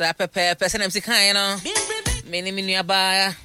Saa pɛpɛɛpɛ sɛnea mesi kaeɛ no, me ne me nuabaa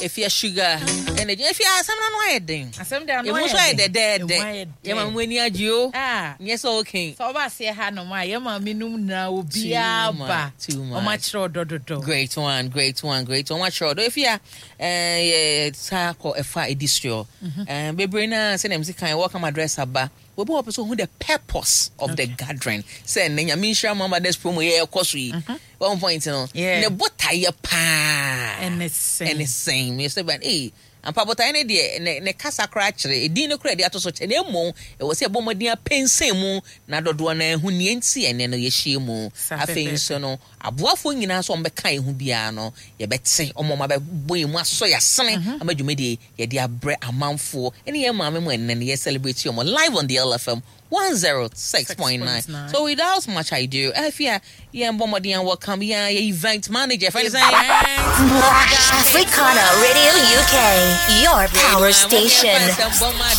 Efia Sugar ɛna gyina. Efia, asɛm no ano ayɛ den. Asɛm de ano Emu ayɛ nso ayɛ den. dɛdɛɛdɛ. Emu ayɛ Yɛn maame den. mu ani agye o. Ah. Nyɛ sɛ okay. Sɛ ɔba aseɛ ha nom a, yɛn maame nom nyinaa obiara Too much, ba. too much. Wɔn akyerɛ ɔdɔ dodo. Great one, great one, great one. Wɔakyerɛ ɔdɔ. Efia, eh, yɛ saa kɔ ɛfa edi soɔ. Eh, bebree naa sɛnea mesi kan welcome address aba. Obi wɔ hɔ pɛ sɛ ohu the purpose of the gathering. Sɛ nnɛ Nyame nhyira mo ama this promo yɛ ɛkɔ so yi. One point no. Yeah. Ne botaeɛ paa. Ɛne sɛn? Ɛne sɛn? Me sɛ ban ee ampa botaeɛ no deɛ ne ne kasa koraa kyerɛ edin no koraa de ato so kyɛ na mmom ɛwɔ sɛ ɛbɔ mmɔden apɛnsɛn mu na dodoɔ no ahu nea nti ɛnɛ no yɛhyia mu. Sa Afei pɛpɛɛpɛ. nso no aboafoɔ nyinaa nso a wɔbɛka yɛn ho biara no yɛbɛte wɔn a wɔabɛbɔ yɛn mu asɔ yɛn asene ama dwumadie yɛde abrɛ amanfoɔ ne yɛn maame mu ɛnnɛ no yɛ celebrate wɔn live on the LFM 106.9. So without much ado, afia yɛn bɔ mmɔden yɛn welcome yɛn yɛ event manager fɛn sɛn. Africana Radio UK, your power station.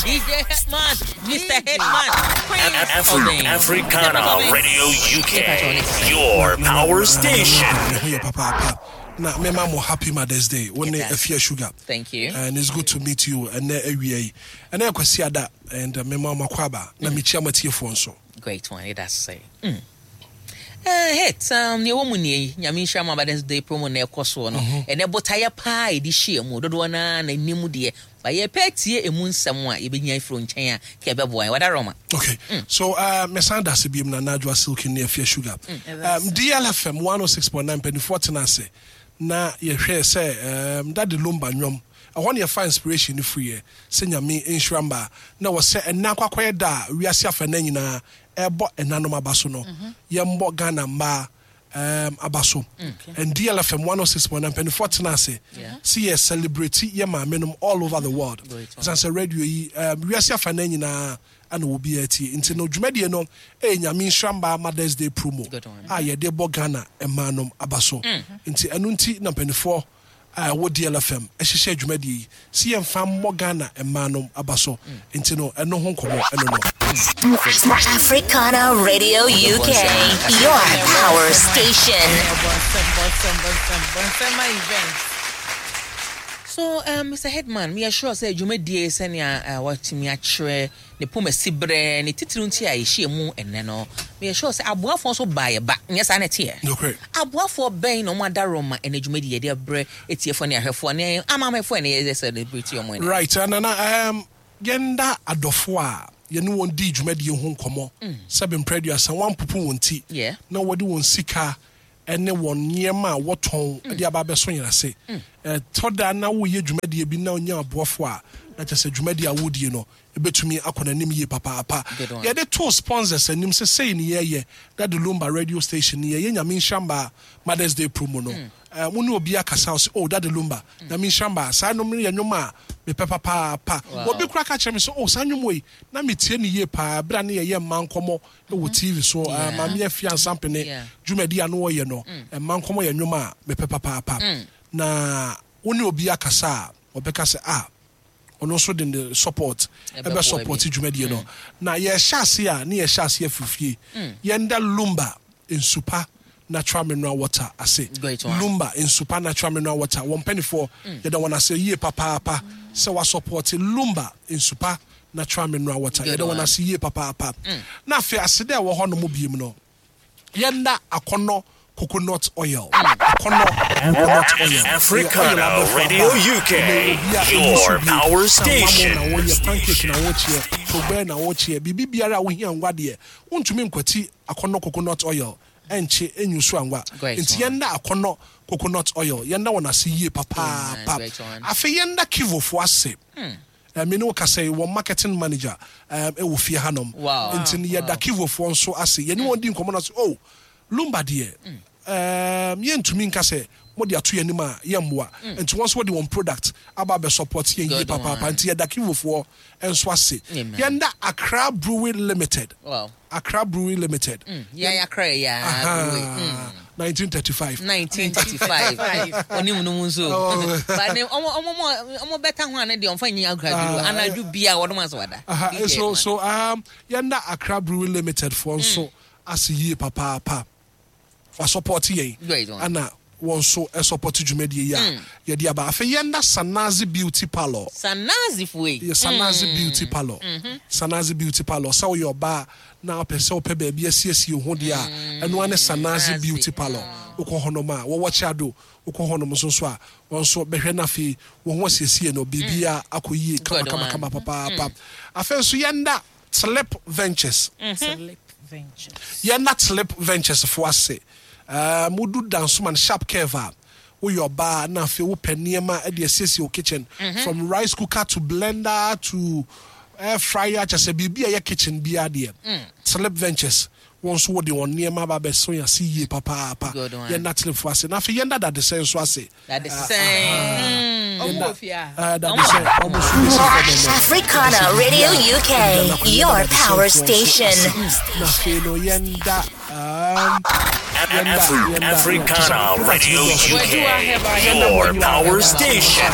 DJ Hetman, Mr. Hetman, Afri- Africana Radio UK, your power station. Ho yɛ papaapa na mema mo happy Mother's Day. Wo ne Yes. Afia Sugar. Thank you. And it's good to meet you. Ɛnɛ awia yi. Ɛnɛ Kwasi Ada and mema mo akɔ aba na mekyia mo atiefoɔ nso. Great one, it does say. Hit, nea ɛwɔ mu nie yi, Nyame nhyira mo Mother's Day promo na ɛkɔ soɔ no. Ɛnɛ botaeɛ paa a yɛde hyia mu, dodoɔ no ara na ɛnim deɛ. Ba yɛpɛ tie emu nsɛm a yɛbɛnya afiri wo nkyɛn a, ka ɛbɛboa yɛn. Wada Roma. Okay. So, mesan da ase biom na Najwa Silky ne Afia Sugar. DLFM 106.9 mpanimfoɔ tena ase na yɛhwɛ sɛ Daddy Lumba nnwom. Ɛhɔ ne yɛfa inspiration no firiɛ sɛ Nyame nhyira mmaa na wɔ sɛ ɛnɛ akɔ akɔyɛ da a wiase afa nna nyinaa ɛbɔ ɛnanom aba so no. Yɛmbɔ Ghana mmaa aba so. And DLFM 106.9 mpanimfoɔ tena ase sɛ yɛ celebrate yɛ maame all over the world. Great one. Ɛsiane sɛ radio yi wiase afa nna nyinaa ana obi atie. Nti no dwumadie no ɛyɛ Nyame nhyira mmaa Mother's Day promo Good one. a yɛde bɔ Ghana mmaa nom aba so. Nti ɛno nti na mpanimfoɔ a ɛwɔ DLFM ɛhyehyɛ dwumadie yi sɛ yɛmfa mmɔ Ghana mmaa nom aba so. Nti no ɛno ho nkɔmmɔ ɛno no. Africana Radio UK, your power station. Bonsem, bonsem, bonsem, bonsem event. So, Mr. Headman, we are sure sɛ dwumadie sɛnea watumi akyerɛ ne poma si berɛ ne titiri nti a yɛhyia mu ɛnnɛ no, we are sure sɛ aboafoɔ nso baa yɛ ba, nyɛ saa na ɛteɛ. Nokorɛ. Aboafoɔ bɛn na ɔmo ada Roma ɛnɛ dwumadie yɛde abrɛ etiefoɔ ne ahwɛfoɔ ne amamɛfoɔ ɛnɛ yɛde celebrate ɔmo ɛnɛ. Right, Nana, yɛnda adɔfoɔ a yɛne wɔn dii dwumadie ho nkɔmmɔ sɛ bemprɛ aduasa wɔampopo wɔn ti na wɔde wɔn sika ɛne wɔn nneɛma a wɔtɔn de aba abɛso yɛn ase. Ɛtɔ da na woyɛ dwumadie bi na wonya aboafoɔ a na kyerɛ sɛ dwumadie a wodie no ebɛtumi akɔ n'anim yie papaapa. Good one. Yɛde too sponsors anim sɛ sei ne yɛyɛ Daddy Lumba radio station ne yɛyɛ Nyame nhyira mmaa Mother's Day promo no. Mo ne obi akasa ɔsɛ oh Daddy Lumba Nyame nhyira mmaa saa nnwom no yɛ nnwom a mepɛ papaapa. Obi koraa ka kyerɛ me sɛ oh saa nnwom wei na metie ne yie paa berɛ a ne yɛyɛ mmaa nkɔmmɔ wɔ TV so. Maame Afia Nsampene dwumadi a no wɔyɛ no mmaa nkɔmmɔ yɛ nnwom a mepɛ papaapa. Na wo ne obi akasa a ɔbɛka sɛ ah ɔno nso de ne support ɛbɛ support dwumadie no. Na yɛhyɛ ase a ne yɛhyɛ ase afiri fie. Yɛnda Lumba Nsupa natural mineral water ase. Great one. Lumba Nsupa natural mineral water wɔn mpanimfoɔ yɛda wɔn ase yie papaapa sɛ wɔasupport Lumba Nsupa natural mineral water. Good Yɛda wɔn one. ase yie papaapa. Na afei ase dɛ ɛwɔ hɔ nom biem no yɛnda Akɔnɔ coconut oil. Akɔnɔ coconut oil. Africana Ɛyɛ oil abɛfo Radio aba. UK, Ɛnɛ obi a your ɛyi so bi. power Sɛ station. wamo na wɔyɛ pancake na wɔkyeɛ, togbɛ na wɔkyeɛ, biribi biara a wohia ngwa deɛ, wontumi nkwati Akɔnɔ coconut oil ɛnkye ɛnyu so angwa. Great Nti one. yɛnda Akɔnɔ coconut oil, yɛnda wɔn ase yie papaapa. Amen. Great one. Afei yɛnda Kivofoɔ ase. Me ne wo kasa yi, wɔn marketing manager ɛwɔ fie hanom. Nti no yɛda Kivofoɔ nso ase. Yɛne wɔn di nkɔmmɔ na so, oh, Lumba deɛ, yɛntumi nka sɛ mode ato yɛn anim a yɛmmoa. Nti wɔn nso wɔde wɔn product aba abɛ support yɛn yie Good papaapa. one. Nti yɛda Kivofoɔ nso ase. Amen. Yɛnda Accra Brewery Limited. Accra Brewery Limited. Yeah, Accra, yeah. Aha. Brewery. 1935. 1935. Oni mu no mu nso. Oh. But ne omo omo omo beta ho ane de omfa nyi Accra Brewery. Anadwo bia wodom aso wada. Aha, DJ so man. so yɛnda Accra Brewery Limited foɔ nso ase yie papaapa. Wasupporte yɛn. Great one. Ana wɔn nso supporte dwumadie yi a yɛde aba. Afei yɛnda Sanazi Beauty Parlour. Sanazi foɔ yi. Yɛ Sanazi Beauty Parlour. Sanazi Beauty Parlour. Sɛ woyɛ ɔbaa na wopɛ sɛ wopɛ baabi asiesie wo ho deɛ a, ɛno ara ne Sanazi Beauty Parlour. Wokɔ hɔnom a, wɔwɔ Kyado. Wokɔ hɔnom nso nso a, wɔn nso bɛhwɛ na afei wɔn ho asiesie no, biribiara akɔ yie kama kama kama papaapa. Afei nso yɛnda Tlip Ventures. Tlip Ventures. Yɛnda Tlip Ventures foɔ ase. Ɛɛ modu Dansoman Sharp Curve a, woyɛ ɔbaa na afei wopɛ nneɛma de asiesie wo kitchen, from rice cooker to blender to air fryer, kyerɛ sɛ biribi a ɛyɛ kitchen biara deɛ, Tlip Ventures wɔn nso wɔde wɔn nneɛma aba abɛso yɛn ase yie papaapa. Good one. Yɛnda Tlip foɔ ase. Na afei yɛnda Dadesɛn nso ase. Dadesɛn. Ɔmo wɔ fie a. Ɛɛ Dadesɛn, wɔn nso bɛsi fam ɛnnɛ. Africana Radio UK, your power station. Na afei no yɛnda yɛnda Africana Radio UK, your power station.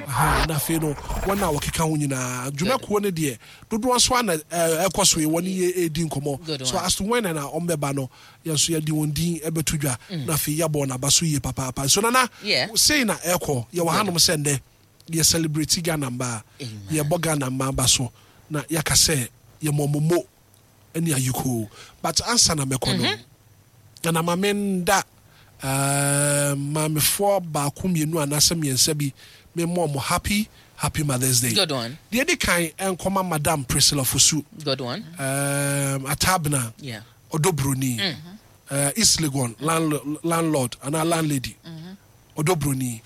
Aha, na afei no wɔn a wɔkeka ho nyinaa dwumakuo no deɛ dodoɔ nso ana ɛkɔ so yi wɔne yɛ ɛredi nkɔmmɔ. Good So one. as to when na wɔn bɛba no, yɛn nso yɛde wɔn din ɛbɛto dwa na afei yɛabɔ wɔn aba so yie papaapa. So Nana, Yeah. sei na ɛkɔ. Yɛwɔ hanom sɛ nnɛ yɛ celebrate Ghana mmaa, yɛbɔ Ghana mmaa ba so na yɛaka sɛ yɛmmɔ momo ne ayikoo. But ansa na mɛkɔ no, Nana, ma menda maamefoɔ baako, mmienu anaasɛ mmiɛnsa bi, memmɔ mo happy happy Mother's Day. Good one. Deɛ di kan ɛnkɔma Madam Priscilla Fosu. Good one. Atabena Ɔdɔ Broni, East Legon landlord anaa landlady Ɔdɔ Broni,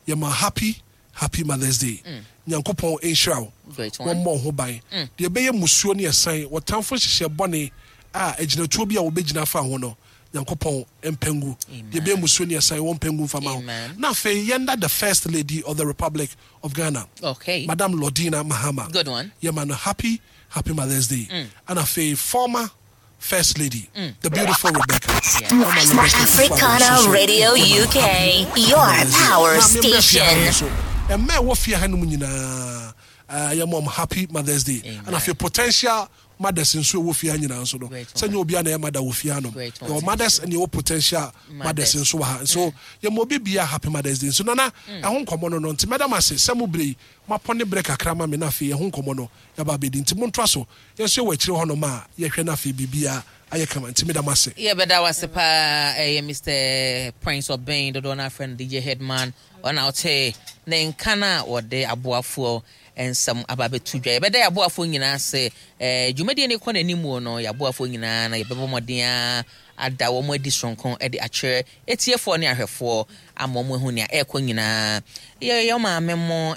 yɛma happy happy Mother's Day. Nyankopɔn nhyira wo. Great one. Wɔmmɔ wo ho ban. Deɛ ɛbɛyɛ musuo ne ɛsan wɔtamfo nhyehyɛ bɔne a agyinatuo bi a wɔbɛgyina afa ho no, Nyankopɔn mpangu. Deɛ ɛbɛyɛ musuo ne ɛsan wɔn mpangu mfama ho. Amen. Na afei yɛnda the First Lady of the Republic of Ghana, Madam Lordina Mahama. Good one. Yɛma no happy happy Mother's Day. Ana afei former First Lady, the beautiful Rebecca. Mama Rebecca. Africana Radio UK, your power station. Ɛmma ɛwɔ fie ha no mu nyinaa, yɛma ɔmo happy Mother's Day. Amen. Ana afei potential mothers nso ɛwɔ fie ha nyinaa nso no, Great sɛ nyɛ obiara na ɛyɛ mother wɔ fie ha nom. Great one. Yɛwɔ mothers ɛne yɛwɔ potential mothers Mothers. nso wɔ ha nso. Yɛma obi bia happy Mother's Day nso. Nana, ɛho nkɔmmɔ no, nti mɛda mo ase sɛ mo bere yi moapɔ ne berɛ kakra ma me na afei ɛho nkɔmmɔ no yɛaba abɛdi. Nti montoa so, yɛn nso yɛwɔ akyire hɔnom a yɛhwɛ no afei biribiara ayɛ kama. Nti meda mo ase. Yɛbɛda wase paa. Ɛyɛ Mr Prince Ɔbɛn, dodoɔ no afrɛ no DJ Headman, ɔna ɔte ne nka no a wɔde aboafoɔ nsɛm aba abɛto dwa. Yɛbɛda yɛ aboafoɔ nyinaa ase. Dwumadie no kɔ n'anim wɔ no, yɛ aboafoɔ nyinaa na yɛbɛbɔ mmɔden a ada wɔn adi soronko de akyerɛ etiefoɔ ne ahwɛfoɔ ama wɔn ahu nea ɛrekɔ nyinaa. Yɛyɛ maame mo.